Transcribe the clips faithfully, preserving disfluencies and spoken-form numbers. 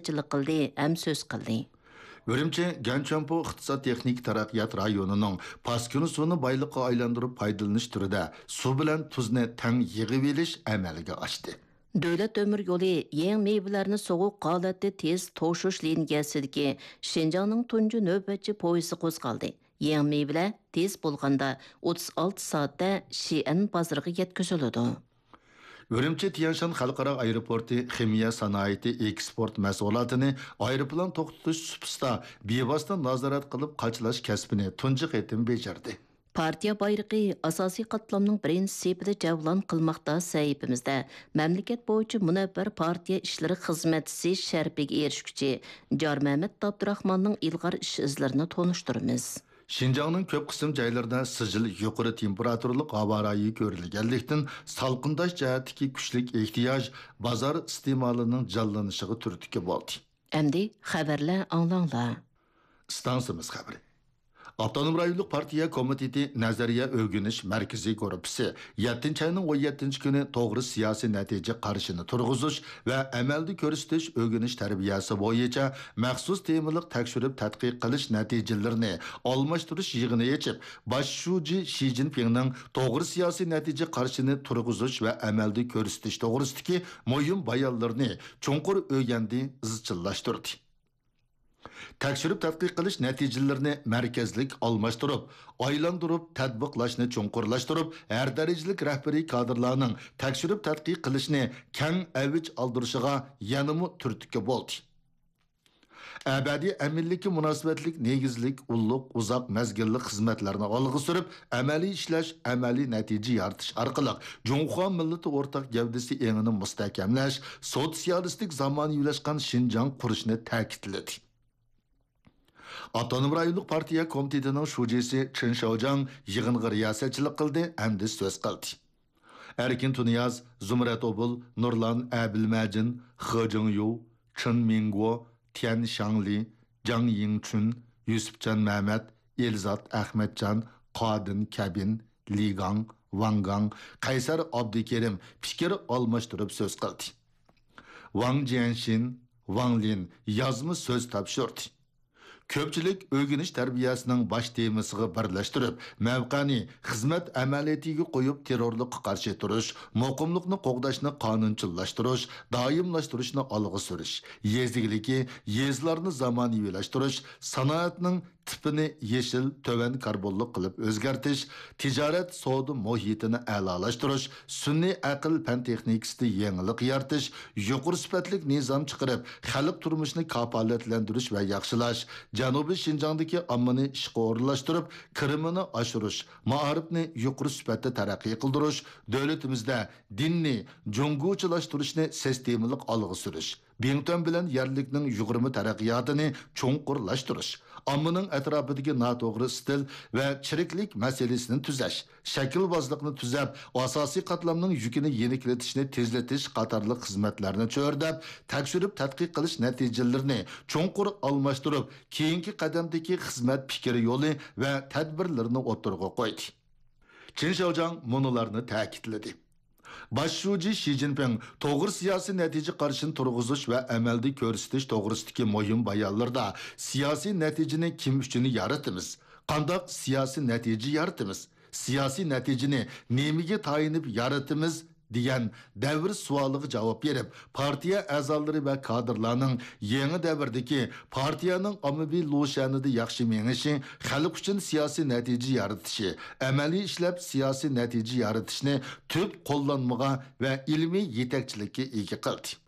رىياسەتچىلىك قىلدى ھەم سۆز قىلدى. ئۈرۈمچى گەنچۈەنپو ئىقتىساد تېخنىكا تەرەققىيات رايونىنىڭ پاسكىنا سۇنى بايلىققا ئايلاندۇرۇپ پايدىلىنىش تۈرىدە سۇ بىلەن تۇزنى تەڭ يىغىۋېلىش ئەمەلگە ئاشتى. دۆلەت تۆمۈر يولى يېڭى مېۋىلەرنى سوغۇق ھالەتتە تېز توشۇش لىنىيەسىدىكى شىنجاڭنىڭ تۇنجى نۆۋەتچى پويىزى قوزغالدى. يېڭى مېۋىلەر تېز بولغاندا ئوتتۇز ئالتە سائەتتە شىئەن بازىرىغا يەتكۈزۈلىدۇ. ئۈرۈمچى تيەنشان خەلقئارا ئايروپورتى خىمىيە سانائىتى ئېكسپورت مەھسۇلاتىنى ئايروپىلان توختىتىش سۇپىسىدا بىۋاسىتە نازارەت قىلىپ قاچىلاش كەسپىنى تۇنجى قېتىم بېجىردى. پارتىيە بايرىقى ئاساسىي قاتلامنىڭ بىرىنچى سېپىدە جەۋلان قىلماقتا. سەھىپىمىزدە مەملىكەت بويىچە مۇنەۋۋەر پارتىيە ئىشلىرى خىزمەتچىسى شەرىپىگە ئېرىشكۈچى جارمەمەت ئابدۇراخماننىڭ ئىلغار ئىش ئىزلىرىنى تونۇشتۇرىمىز. شىنجاڭنىڭ كۆپ قىسىم جايلىرىدا سىجىل يۇقىرى تېمپېراتۇرىلىق ھاۋا رايى كۆرۈلگەنلىكتىن، سالقىنداش جەھەتتىكى كۈچلۈك ئېھتىياج بازار ئىستېمالىنىڭ جانلىنىشىغا تۈرتكە بولدى. ئەمدى خەۋەرلەر ئاڭلاڭلار. ئىستانسىمىز خەۋىرى. ئاپتونوم رايونلۇق پارتىيە كومىتېتى نەزەرىيە ئۆگىنىش مەركىزىي گۇرۇپپىسى يەتتىنچى ئاينىڭ ئون يەتتىنچى كۈنى توغرا سىياسىي نەتىجە قارىشىنى تۇرغۇزۇش ۋە ئەمەلدە كۆرسىتىش ئۆگىنىش تەربىيەسى بويىچە مەخسۇس تېمىلىق تەكشۈرۈپ تەتقىق قىلىش نەتىجىلىرىنى ئالماشتۇرۇش يىغىنى ئېچىپ، باش شۇجى شى جىنپىڭنىڭ توغرا سىياسىي نەتىجە قارىشىنى تۇرغۇزۇش ۋە ئەمەلدە كۆرسىتىش توغرىسىدىكى مۇھىم بايانلىرىنى چوڭقۇر ئۆگەندى، ئىزچىللاشتۇردى. تەكشۈرۈپ تەتقىق قىلىش نەتىجىلىرىنى مەركەزلىك ئالماشتۇرۇپ، ئايلاندۇرۇپ، تەتبىقلاشنى چوڭقۇرلاشتۇرۇپ، ھەر دەرىجىلىك رەھبىرىي كادىرلارنىڭ تەكشۈرۈپ تەتقىق قىلىشنى كەڭ ئەۋج ئالدۇرۇشىغا يەنىمۇ تۈرتكە بولدى. ئەبەدىي ئەمىنلىككە مۇناسىۋەتلىك نېگىزلىك ئۇللۇق ئۇزاق مەزگىللىك خىزمەتلەرنى ئالغا سۈرۈپ، ئەمەلىي ئىشلەش، ئەمەلىي نەتىجە يارىتىش ئارقىلىق جۇڭخۇا مىللىتى ئورتاق گەۋدىسى ئېڭىنى مۇستەھكەملەش، سوتسىيالىستىك زامانىۋىلاشقان شىنجاڭ قۇرۇشنى تەكىتلىدى. ئاپتونوم رايونلۇق پارتىيە كومىتېتىنىڭ شۇجىسى چېن شياۋجياڭ يىغىنغا رىياسەتچىلىك قىلدى ھەمدە سۆز قىلدى. ئەركىن تۇنىياز، زۇمرەت ئوبۇل، نۇرلان ئەبىلمەجىن، خې جىڭيۇ، چېن مىڭگو، تيەن شاڭلى، جاڭ يىڭچۈن، يۈسۈپجان مەمەت، ئېلزات ئەخمەتجان، قادىن كەبىن، لى گاڭ، ۋاڭ گاڭ، قەيسەر ئابدۇكېرىم پىكىر ئالماشتۇرۇپ سۆز قىلدى. ۋاڭ جيەنشىن، ۋاڭ لىن يازما سۆز تاپشۇردى. كۆپچىلىك ئۆگىنىش تەربىيەسىنىڭ باش تېمىسىغا بىرلەشتۈرۈپ، مەۋقەنى خىزمەت ئەمەلىيىتىگە قويۇپ، تېررورلۇققا قارشى تۇرۇش، مۇقىملىقنى قوغداشنى قانۇنچىللاشتۇرۇش، دائىملاشتۇرۇشنى ئالغا سۈرۈش، يېزا ئىگىلىكى، يېزىلارنى زامانىۋىلاشتۇرۇش، سانائەتنىڭ تىپىنى يېشىل، تۆۋەن كاربونلۇق قىلىپ ئۆزگەرتىش، تىجارەت، سودا مۇھىتىنى ئەلالاشتۇرۇش، سۈنئىي ئەقىل پەن تېخنىكىسىدا يېڭىلىق يارىتىش، يۇقىرى سۈپەتلىك نىزام چىقىرىپ، خەلق تۇرمۇشىنى كاپالەتلەندۈرۈش ۋە ياخشىلاش، جەنۇبىي شىنجاڭدىكى ئاممىنى ئىشقا ئورۇنلاشتۇرۇپ، كىرىمىنى ئاشۇرۇش، مائارىپنى يۇقىرى سۈپەتتە تەرەققىي قىلدۇرۇش، دۆلىتىمىزدە دىننى جۇڭگوچىلاشتۇرۇشنى سىستېمىلىق ئالغا سۈرۈش، بىڭتۈەن بىلەن يەرلىكنىڭ يۇغۇرما تەرەققىياتىنى چوڭقۇرلاشتۇرۇش، ئاممىنىڭ ئەتراپىدىكى ناتوغرا ئىستىل ۋە چىرىكلىك مەسىلىسىنى تۈزەش، شەكىلۋازلىقنى تۈزەپ، ئاساسىي قاتلامنىڭ يۈكىنى يېنىكلىتىشنى تېزلىتىش قاتارلىق خىزمەتلەرنى چۆرىدەپ، تەكشۈرۈپ تەتقىق قىلىش نەتىجىلىرىنى چوڭقۇر ئالماشتۇرۇپ، كېيىنكى قەدەمدىكى خىزمەت پىكىر يولى ۋە تەدبىرلىرىنى ئوتتۇرىغا قويدى. چېن شياۋجياڭ مۇنۇلارنى تەكىتلىدى. باش شۇجى شى جىنپىڭ توغرا سىياسىي نەتىجە قارىشىنى تۇرغۇزۇش ۋە ئەمەلدە كۆرسىتىش توغرىسىدىكى مۇھىم بايانلىرىدا، سىياسىي نەتىجىنى كىم ئۈچۈن يارىتىمىز؟ قانداق سىياسىي نەتىجە يارىتىمىز؟ سىياسىي نەتىجىنى نېمىگە تايىنىپ يارىتىمىز؟ دېگەن دەۋر سوئالىغا جاۋاب بېرىپ، پارتىيە ئەزالىرى ۋە كادىرلارنىڭ يېڭى دەۋردىكى پارتىيەنىڭ ئاممىۋى لۇشيەنىدە ياخشى مېڭىشى، خەلق ئۈچۈن سىياسىي نەتىجە يارىتىشى، ئەمەلىي ئىشلەپ سىياسىي نەتىجە يارىتىشنى تۈپ قوللانمىغا ۋە ئىلمىي يېتەكچىلىككە ئىگە قىلدى.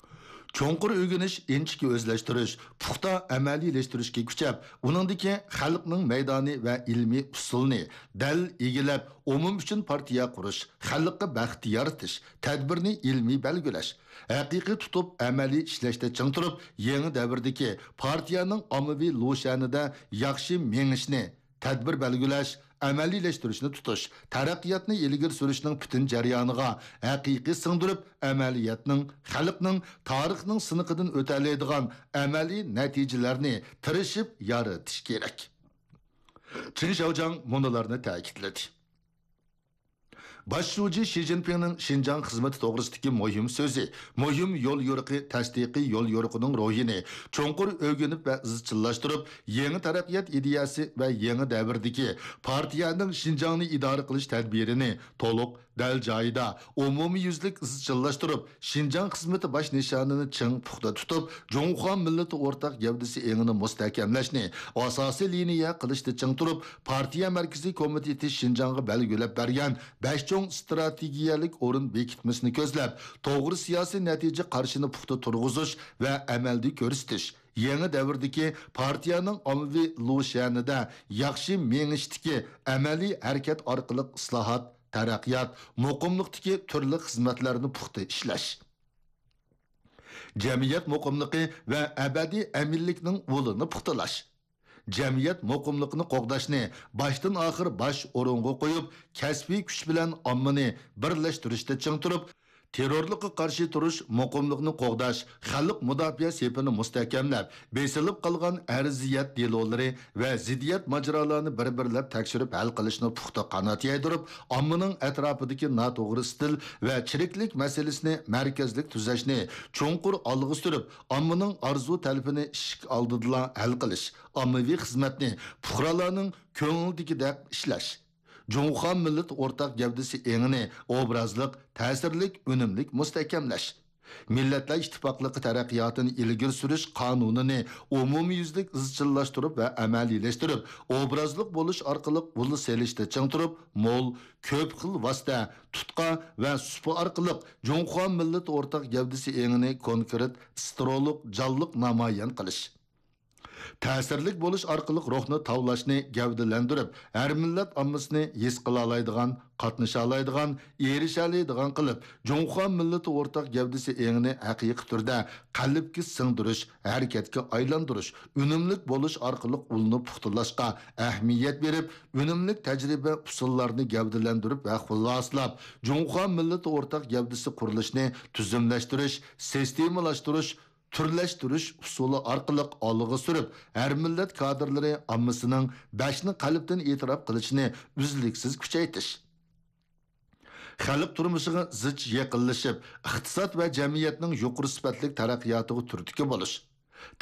چوڭقۇر ئۆگىنىش، ئىنچىكە ئۆزلەشتۈرۈش، پۇختا ئەمەلىيلەشتۈرۈشكە كۈچەپ، ئۇنىڭدىكى خەلقنىڭ مەيدانى ۋە ئىلمىي ئۇسۇلنى دەل ئىگىلەپ، ئومۇم ئۈچۈن پارتىيە قۇرۇش، خەلققە بەخت يارىتىش، تەدبىرنى ئىلمىي بەلگىلەش، ھەقىقىي تۇتۇپ ئەمەلىي ئىشلەشتە چىڭ تۇرۇپ، يېڭى دەۋردىكى پارتىيەنىڭ ئاممىۋى لۇشيەنىدە ياخشى مېڭىشنى، تەدبىر بەلگىلەش، ئەمەلىيلەشتۈرۈشنى تۇتۇش، تەرەققىياتنى ئىلگىرى سۈرۈشنىڭ پۈتۈن جەريانىغا ھەقىقىي سىڭدۈرۈپ، ئەمەلىيەتنىڭ، خەلقنىڭ، تارىخنىڭ سىنىقىدىن ئۆتەلەيدىغان ئەمەلىي نەتىجىلەرنى تىرىشىپ يارىتىش كېرەك. چېن شياۋجياڭ مۇنۇلارنى تەكىتلىدى. باش شۇجى شى جىنپىڭنىڭ شىنجاڭ خىزمىتى توغرىسىدىكى مۇھىم سۆزى، مۇھىم يوليورۇقى تەستىقىي يوليورۇقىنىڭ روھىنى چوڭقۇر ئۆگىنىپ ۋە ئىزچىللاشتۇرۇپ، يېڭى تەرەققىيات ئىدىيەسى ۋە يېڭى دەۋردىكى پارتىيەنىڭ شىنجاڭنى ئىدارە قىلىش تەدبىرىنى تولۇق، دەل جايىدا، ئومۇميۈزلۈك ئىزچىللاشتۇرۇپ، شىنجاڭ خىزمىتى باش نىشانىنى چىڭ پۇختا تۇتۇپ، جۇڭخۇا مىللىتى ئورتاق گەۋدىسى ئېڭىنى مۇستەھكەملەشنى ئاساسىي لىنىيە قىلىشتا چىڭ تۇرۇپ، پارتىيە مەركىزىي كومىتېتى شىنجاڭغا بەلگىلەپ بەرگەن بەش چوڭ ئىستراتېگىيەلىك ئورۇن بېكىتمىسىنى كۆزلەپ، توغرا سىياسىي نەتىجە قارىشىنى پۇختا تۇرغۇزۇش ۋە ئەمەلدە كۆرسىتىش، يېڭى دەۋردىكى پارتىيەنىڭ ئاممىۋى لۇشيەنىدە ياخشى مېڭىشتىكى ئەمەلىي ھەرىكەت ئارقىلىق ئىسلاھات، تەرەققىيات، مۇقىملىقتىكى تۈرلۈك خىزمەتلەرنى پۇختا ئىشلەش. جەمئىيەت مۇقىملىقى ۋە ئەبەدىي ئەمىنلىكنىڭ ئۇلىنى پۇختىلاش. جەمئىيەت مۇقىملىقىنى قوغداشنى باشتىن ئاخىر باش ئورۇنغا قويۇپ، كەسپىي كۈچ بىلەن ئاممىنى بىرلەشتۈرۈشتە چىڭ تۇرۇپ، تېررورلۇققا قارشى تۇرۇش، مۇقىملىقنى قوغداش، خەلق مۇداپىئە سېپىنى مۇستەھكەملەپ، بېسىلىپ قالغان ئەرزىيەت دېلولىرى ۋە زىددىيەت ماجىرالارنى بىر-بىرلەپ تەكشۈرۈپ ھەل قىلىشنى پۇختا قانات يايدۇرۇپ، ئاممىنىڭ ئەتراپىدىكى ناتوغرا ئىستىل ۋە چىرىكلىك مەسىلىسىنى مەركەزلىك تۈزەشنى چوڭقۇر ئالغا سۈرۈپ، ئاممىنىڭ ئارزۇ-تەلىپىنى ئىشىك ئالدىدىلا ھەل قىلىش، ئاممىۋى خىزمەتنى پۇقرالارنىڭ كۆڭلىدىكىدەك ئىشلەش، جۇڭخۇا مىللىتى ئورتاق گەۋدىسى ئېڭىنى ئوبرازلىق، تەسىرلىك، ئۈنۈملۈك مۇستەھكەملەش، مىللەتلەر ئىتتىپاقلىقى تەرەققىياتىنى ئىلگىرى سۈرۈش قانۇنىنى ئومۇميۈزلۈك ئىزچىللاشتۇرۇپ ۋە ئەمەلىيلەشتۈرۈپ، ئوبرازلىق بولۇش ئارقىلىق ئۇل سېلىشتا چىڭ تۇرۇپ، مول، كۆپ خىل ۋاسىتە، تۇتقا ۋە سۇپا ئارقىلىق جۇڭخۇا مىللىتى ئورتاق گەۋدىسى ئېڭىنى كونكرېت، ئىسترولۇق، جانلىق نامايان قىلىش. تەسىرلىك بولۇش ئارقىلىق روھنى تاۋلاشنى گەۋدىلەندۈرۈپ، ھەر مىللەت ئاممىسىنى ھېس قىلالايدىغان، قاتنىشالايدىغان، ئېرىشەلەيدىغان قىلىپ، جۇڭخۇا مىللىتى ئورتاق گەۋدىسى ئېڭىنى ھەقىقىي تۈردە قەلبكە سىڭدۈرۈش، ھەرىكەتكە ئايلاندۇرۇش، ئۈنۈملۈك بولۇش ئارقىلىق ئۇلنى پۇختىلاشقا ئەھمىيەت بېرىپ، ئۈنۈملۈك تەجرىبە ئۇسۇللارنى گەۋدىلەندۈرۈپ ۋە خۇلاسىلاپ، جۇڭخۇا مىللىتى ئورتاق گەۋدىسى قۇرۇلۇشىنى تۈزۈملەشتۈرۈش، سىستېمىلاشتۇرۇش، تۈرلەشتۈرۈش ئۇسۇلى ئارقىلىق ئالغا سۈرۈپ، ھەر مىللەت كادىرلىرى ئاممىسىنىڭ بەشنى قەلبتىن ئېتىراپ قىلىشىنى ئۈزلۈكسىز كۈچەيتىش. خەلق تۇرمۇشىغا زىچ يېقىنلىشىپ، ئىقتىساد ۋە جەمئىيەتنىڭ يۇقىرى سۈپەتلىك تەرەققىياتىغا تۈرتكە بولۇش.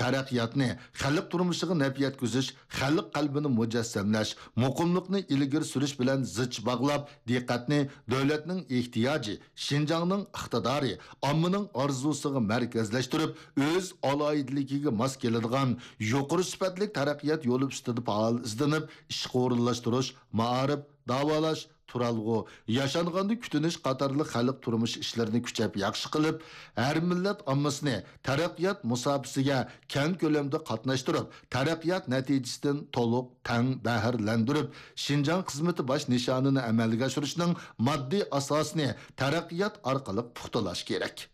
تەرەققىياتنى خەلق تۇرمۇشىغا نەپ يەتكۈزۈش، خەلق قەلبىنى مۇجەسسەملەش، مۇقىملىقنى ئىلگىرى سۈرۈش بىلەن زىچ باغلاپ، دىققەتنى دۆلەتنىڭ ئېھتىياجى، شىنجاڭنىڭ ئىقتىدارى، ئاممىنىڭ ئارزۇسىغا مەركەزلەشتۈرۈپ، ئۆز ئالاھىدىلىكىگە ماس كېلىدىغان يۇقىرى سۈپەتلىك تەرەققىيات يولى ئۈستىدە پائال ئىزدىنىپ، ئىشقا ئورۇنلاشتۇرۇش، مائارىپ، داۋالاش، تۇرالغۇ، ياشانغاندا كۈتۈنۈش قاتارلىق خەلق تۇرمۇش ئىشلىرىنى كۈچەپ ياخشى قىلىپ، ھەر مىللەت ئاممىسىنى تەرەققىيات مۇساپىسىگە كەڭ كۆلەمدە قاتناشتۇرۇپ، تەرەققىيات نەتىجىسىدىن تولۇق، تەڭ بەھرىلەندۈرۈپ، شىنجاڭ خىزمىتى باش نىشانىنى ئەمەلگە ئاشۇرۇشنىڭ ماددىي ئاساسىنى تەرەققىيات ئارقىلىق پۇختىلاش كېرەك.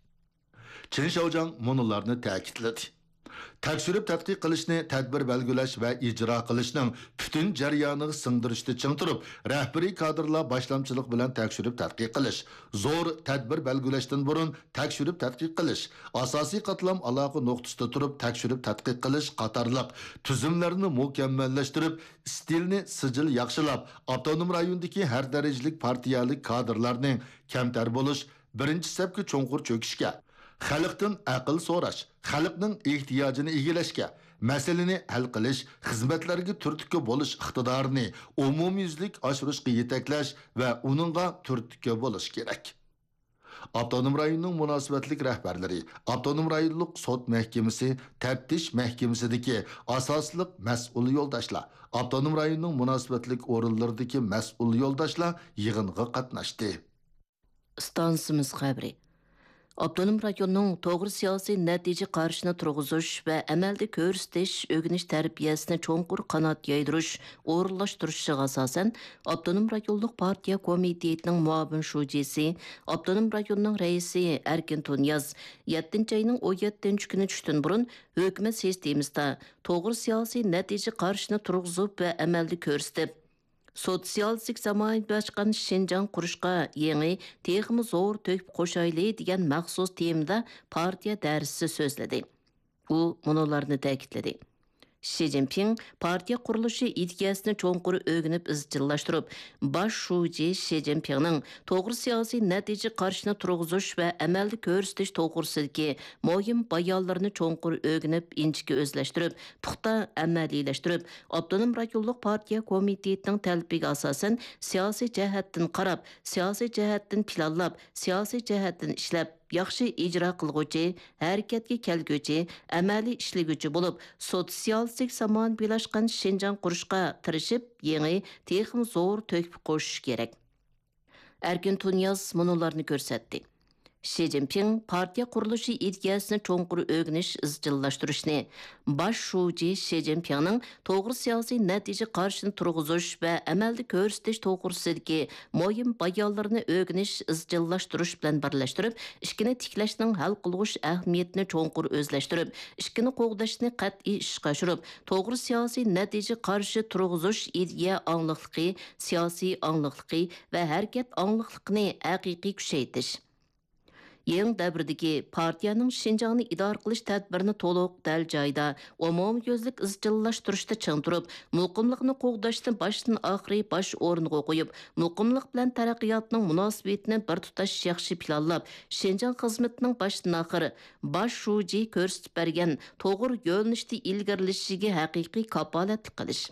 چېن شياۋجياڭ مۇنۇلارنى تەكىتلىدى. تەكشۈرۈپ تەتقىق قىلىشنى تەدبىر بەلگىلەش ۋە ئىجرا قىلىشنىڭ پۈتۈن جەريانىغا سىڭدۈرۈشتە چىڭ تۇرۇپ، رەھبىرىي كادىرلار باشلامچىلىقى بىلەن تەكشۈرۈپ تەتقىق قىلىش، زور تەدبىر بەلگىلەشتىن بۇرۇن تەكشۈرۈپ تەتقىق قىلىش، ئاساسىي قاتلام ئالاقە نۇقتىسىدا تۇرۇپ تەكشۈرۈپ تەتقىق قىلىش قاتارلىق تۈزۈملەرنى مۇكەممەللەشتۈرۈپ، ئىستىلنى سىجىل ياخشىلاپ، ئاپتونوم رايوندىكى ھەر دەرىجىلىك پارتىيەلىك كادىرلارنى كەمتەر بولۇش، بىرىنچى سەپكە چوڭقۇر چۆكۈشكە، خەلقتىن ئەقىل سوراش، خەلقنىڭ ئېھتىياجىنى ئىگىلەشكە، مەسىلىنى ھەل قىلىش، خىزمەتلەرگە تۈرتكە بولۇش ئىقتىدارىنى ئومۇميۈزلۈك ئاشۇرۇشقا يېتەكلەش ۋە ئۇنىڭغا تۈرتكە بولۇش كېرەك. ئاپتونوم رايوننىڭ مۇناسىۋەتلىك رەھبەرلىرى، ئاپتونوم رايونلۇق سوت مەھكىمىسى، تەپتىش مەھكىمىسىدىكى ئاساسلىق مەسئۇل يولداشلار، ئاپتونوم رايوننىڭ مۇناسىۋەتلىك ئورۇنلىرىدىكى مەسئۇل يولداشلار يىغىنغا قاتناشتى. ئىستانسىمىز خەۋىرى. ئاپتونوم رايوننىڭ توغرا سىياسىي نەتىجە قارىشىنى تۇرغۇزۇش ۋە ئەمەلدە كۆرسىتىش، ئۆگىنىش تەربىيەسىنى چوڭقۇر قانات يايدۇرۇش، ئورۇنلاشتۇرۇشىغا ئاساسەن، ئاپتونوم رايونلۇق پارتىيە كومىتېتىنىڭ مۇئاۋىن شۇجىسى، ئاپتونوم رايوننىڭ رەئىسى ئەركىن تۇنىياز يەتتىنچى ئاينىڭ ئون يەتتىنچى كۈنى چۈشتىن بۇرۇن ھۆكۈمەت سىستېمىسىدا توغرا سىياسىي نەتىجە قارىشىنى تۇرغۇزۇپ ۋە ئەمەلدە كۆرسىتىپ، سوتسىيالىستىك زامانىۋىلاشقان شىنجاڭ قۇرۇشقا يېڭى، تېخىمۇ زور تۆھپە قوشايلى دېگەن مەخسۇس تېمىدا پارتىيە دەرسىسى سۆزلىدى. ئۇ مۇنۇلارنى تەكىتلىدى: شى جىنپىڭ پارتىيە قۇرۇلۇشى ئىدىيەسىنى چوڭقۇر ئۆگىنىپ ئىزچىللاشتۇرۇپ، باش شۇجى شى جىنپىڭنىڭ توغرا سىياسىي نەتىجە قارىشىنى تۇرغۇزۇش ۋە ئەمەلدە كۆرسىتىش توغرىسىدىكى مۇھىم بايانلىرىنى چوڭقۇر ئۆگىنىپ، ئىنچىكە ئۆزلەشتۈرۈپ، پۇختا ئەمەلىيلەشتۈرۈپ، ئاپتونوم رايونلۇق پارتىيە كومىتېتىنىڭ تەلىپىگە ئاساسەن، سىياسىي جەھەتتىن قاراپ، سىياسىي جەھەتتىن پىلانلاپ، سىياسىي جەھەتتىن ئىشلەپ، ياخشى ئىجرا قىلغۇچى، ھەرىكەتكە كەلگۈچى، ئەمەلىي ئىشلىگۈچى بولۇپ، سوتسىيالىستىك زامانىۋىلاشقان شىنجاڭ قۇرۇشقا تىرىشىپ، يېڭى، تېخىمۇ زور تۆھپە قوشۇش كېرەك. ئەركىن تۇنىياز مۇنۇلارنى كۆرسەتتى. شى جىنپىڭ پارتىيە قۇرۇلۇشى ئىدىيەسىنى چوڭقۇر ئۆگىنىش، ئىزچىللاشتۇرۇشنى، باش شۇجى شى جىنپىڭنىڭ توغرا سىياسىي نەتىجە قارىشىنى تۇرغۇزۇش ۋە ئەمەلدە كۆرسىتىش توغرىسىدىكى مۇھىم بايانلىرىنى ئۆگىنىش، ئىزچىللاشتۇرۇش بىلەن بىرلەشتۈرۈپ، ئىككىنى تىكلەشنىڭ ھەل قىلغۇچ ئەھمىيىتىنى چوڭقۇر ئۆزلەشتۈرۈپ، ئىككىنى قوغداشنى قەتئىي ئىشقا ئاشۇرۇپ، توغرا سىياسىي نەتىجە قارىشى تۇرغۇزۇش ئىدىيە ئاڭلىقلىقى، سىياسىي ئاڭلىقلىقى ۋە ھەرىكەت ئاڭلىقلىقىنى ھەقىقىي كۈچەيتىش. يېڭى دەۋردىكى پارتىيەنىڭ شىنجاڭنى ئىدارە قىلىش تەدبىرىنى تولۇق، دەل جايىدا، ئومۇميۈزلۈك ئىزچىللاشتۇرۇشتا چىڭ تۇرۇپ، مۇقىملىقنى قوغداشنى باشتىن ئاخىرى باش ئورۇنغا قويۇپ، مۇقىملىق بىلەن تەرەققىياتنىڭ مۇناسىۋىتىنى بىر تۇتاش ياخشى پىلانلاپ، شىنجاڭ خىزمىتىنىڭ باشتىن ئاخىر باش شۇجى كۆرسىتىپ بەرگەن توغرا يۆنىلىشتە ئىلگىرىلىشىگە ھەقىقىي كاپالەتلىك قىلىش.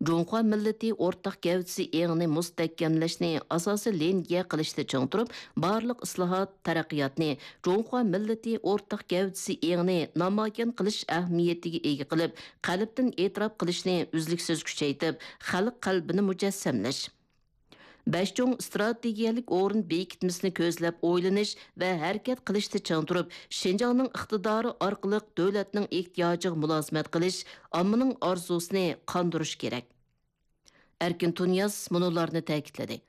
جۇڭخۇا مىللىتى ئورتاق گەۋدىسى ئېڭىنى مۇستەھكەملەشنى ئاساسىي لىنىيە قىلىشتا چىڭ تۇرۇپ، بارلىق ئىسلاھات، تەرەققىياتنى جۇڭخۇا مىللىتى ئورتاق گەۋدىسى ئېڭىنى نامايان قىلىش ئەھمىيىتىگە ئىگە قىلىپ، قەلبتىن ئېتىراپ قىلىشنى ئۈزلۈكسىز كۈچەيتىپ، خەلق قەلبىنى مۇجەسسەملەش. بەش چوڭ ئىستراتېگىيەلىك ئورۇن بېكىتمىسىنى كۆزلەپ ئويلىنىش ۋە ھەرىكەت قىلىشتا چىڭ تۇرۇپ، شىنجاڭنىڭ ئىقتىدارى ئارقىلىق دۆلەتنىڭ ئېھتىياجىغا مۇلازىمەت قىلىش، ئاممىنىڭ ئارزۇسىنى قاندۇرۇش كېرەك. ئەركىن تۇنىياز مۇنۇلارنى تەكىتلىدى.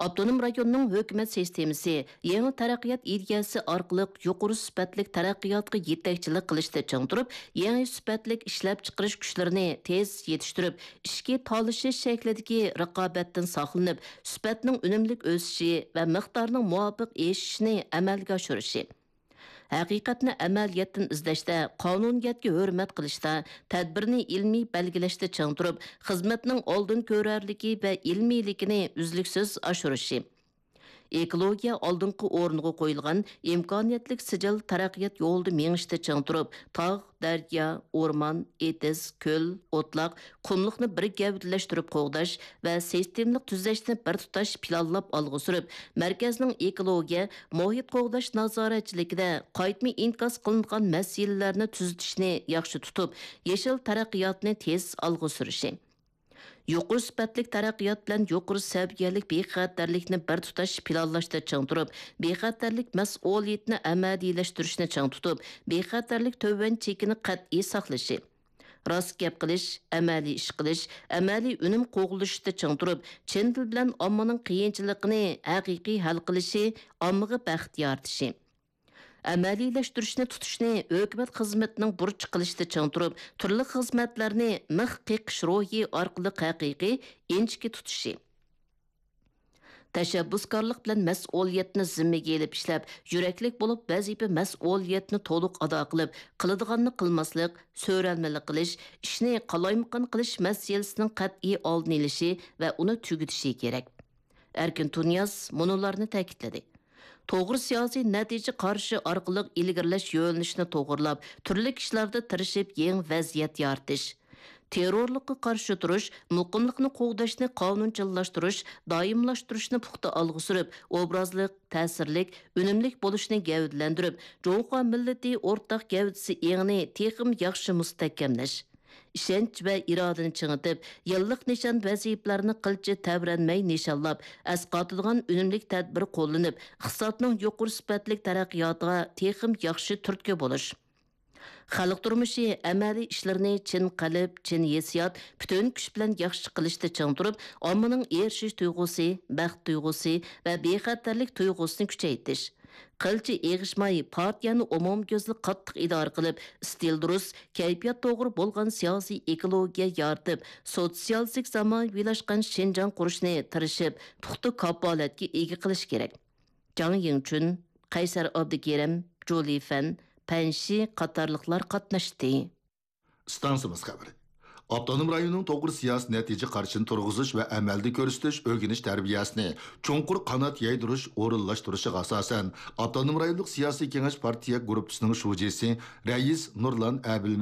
ئاپتونوم رايوننىڭ ھۆكۈمەت سىستېمىسى يېڭى تەرەققىيات ئىدىيەسى ئارقىلىق يۇقىرى سۈپەتلىك تەرەققىياتقا يېتەكچىلىك قىلىشتا چىڭ تۇرۇپ، يېڭى سۈپەتلىك ئىشلەپچىقىرىش كۈچلىرىنى تېز يېتىشتۈرۈپ، ئىچكى تالىشىش شەكلىدىكى رىقابەتتىن ساقلىنىپ، سۈپەتنىڭ ئۈنۈملۈك ئۆسۈشى ۋە مىقدارنىڭ مۇۋاپىق ئېشىشىنى ئەمەلگە ئاشۇرۇشى. ھەقىقەتنى ئەمەلىيەتتىن ئىزدەشتە، قانۇنىيەتكە ھۆرمەت قىلىشتا، تەدبىرنى ئىلمىي بەلگىلەشتە چىڭ تۇرۇپ، خىزمەتنىڭ ئالدىن كۆرەرلىكى ۋە ئىلمىيلىكىنى ئۈزلۈكسىز ئاشۇرۇشى. ئېكولوگىيە ئالدىنقى ئورۇنغا قويۇلغان ئىمكانىيەتلىك سىجىل تەرەققىيات يولىدا مېڭىشتا چىڭ تۇرۇپ، تاغ، دەريا، ئورمان، ئېتىز، كۆل، ئوتلاق، قۇملۇقنى بىر گەۋدىلەشتۈرۈپ قوغداش ۋە سىستېمىلىق تۈزەشنى بىر تۇتاش پىلانلاپ ئالغا سۈرۈپ، مەركەزنىڭ ئېكولوگىيە، مۇھىت قوغداش نازارەتچىلىكىدە قايتما ئىنكاس قىلىنغان مەسىلىلەرنى تۈزىتىشنى ياخشى تۇتۇپ، يېشىل تەرەققىياتنى تېز ئالغا سۈرۈشى. يۇقىرى سۈپەتلىك تەرەققىيات بىلەن يۇقىرى سەۋىيەلىك بىخەتەرلىكنى بىر تۇتاش پىلانلاشتا چىڭ تۇرۇپ، بىخەتەرلىك مەسئۇلىيىتىنى ئەمەلىيلەشتۈرۈشنى چىڭ تۇتۇپ، بىخەتەرلىك تۆۋەن چېكىنى قەتئىي ساقلىشى. راست گەپ قىلىش، ئەمەلىي ئىش قىلىش، ئەمەلىي ئۈنۈم قوغلىشىشتا چىڭ تۇرۇپ، چىن دىل بىلەن ئاممىنىڭ قىيىنچىلىقىنى ھەقىقىي ھەل قىلىشى، ئاممىغا بەخت يارىتىشى. ئەمەلىيلەشتۈرۈشنى تۇتۇشنى ھۆكۈمەت خىزمىتىنىڭ بۇرچى قىلىشتا چىڭ تۇرۇپ، تۈرلۈك خىزمەتلەرنى مىخ قېقىش روھى ئارقىلىق ھەقىقىي، ئىنچىكە تۇتۇشى. تەشەببۇسكارلىق بىلەن مەسئۇلىيەتنى زىممىگە ئېلىپ ئىشلەپ، يۈرەكلىك بولۇپ ۋەزىپە مەسئۇلىيەتنى تولۇق ئادا قىلىپ، قىلىدىغاننى قىلماسلىق، سۆرەلمىلىك قىلىش، ئىشنى قالايمىقان قىلىش مەسىلىسىنىڭ قەتئىي ئالدىنى ئېلىشى ۋە ئۇنى تۈگىتىشى كېرەك. ئەركىن تۇنىياز مۇنۇلارنى تەكىتلىدى. توغرا سىياسىي نەتىجە قارىشى ئارقىلىق ئىلگىرىلەش يۆنىلىشىنى توغرىلاپ، تۈرلۈك ئىشلاردا تىرىشىپ يېڭى ۋەزىيەت يارىتىش. تېررورلۇققا قارشى تۇرۇش، مۇقىملىقنى قوغداشنى قانۇنچىللاشتۇرۇش، دائىملاشتۇرۇشنى پۇختا ئالغا سۈرۈپ، ئوبرازلىق، تەسىرلىك، ئۈنۈملۈك بولۇشنى گەۋدىلەندۈرۈپ، جۇڭخۇا مىللىتى ئورتاق گەۋدىسى ئېڭىنى تېخىمۇ ياخشى مۇستەھكەملەش. ئىشەنچ ۋە ئىرادىنى چىڭىتىپ، يىللىق نىشان ۋەزىپىلەرنى قىلچە تەۋرەنمەي نىشانلاپ، ئەسقاتىدىغان ئۈنۈملۈك تەدبىر قوللىنىپ، ئىقتىسادنىڭ يۇقىرى سۈپەتلىك تەرەققىياتىغا تېخىمۇ ياخشى تۈرتكە بولۇش. خەلق تۇرمۇشى ئەمەلىي ئىشلىرىنى چىن قەلب، چىن ھېسسىيات، پۈتۈن كۈچ بىلەن ياخشى قىلىشتا چىڭ تۇرۇپ، ئاممىنىڭ ئېرىشىش تۇيغۇسى، بەخت تۇيغۇسى ۋە بىخەتەرلىك تۇيغۇسىنى كۈچەيتىش. قىلچە ئېغىشماي، پارتىيەنى ئومۇميۈزلۈك قاتتىق ئىدارە قىلىپ، ئىستىل دۇرۇس، كەيپىيات توغرا بولغان سىياسىي ئېكولوگىيە يارىتىپ، سوتسىيالىستىك زامانىۋىلاشقان شىنجاڭ قۇرۇشنى تىرىشىپ، پۇختا كاپالەتكە ئىگە قىلىش كېرەك. جاڭ يىڭچۈن، قەيسەر ئابدۇكېرىم، جۇلى فەن، پەن شى قاتارلىقلار قاتناشتى. ئىستانسىمىز خەۋىرى. ئاپتونوم رايوننىڭ توغرا سىياسىي نەتىجە قارىشىنى تۇرغۇزۇش ۋە ئەمەلدە كۆرسىتىش، ئۆگىنىش تەربىيەسىنى چوڭقۇر قانات يايدۇرۇش ئورۇنلاشتۇرۇشىغا ئاساسەن، ئاپتونوم رايونلۇق سىياسىي كېڭەش پارتىيە گۇرۇپپىسىنىڭ شۇجىسى رەئىس نۇرلان ئەبىلمەمەت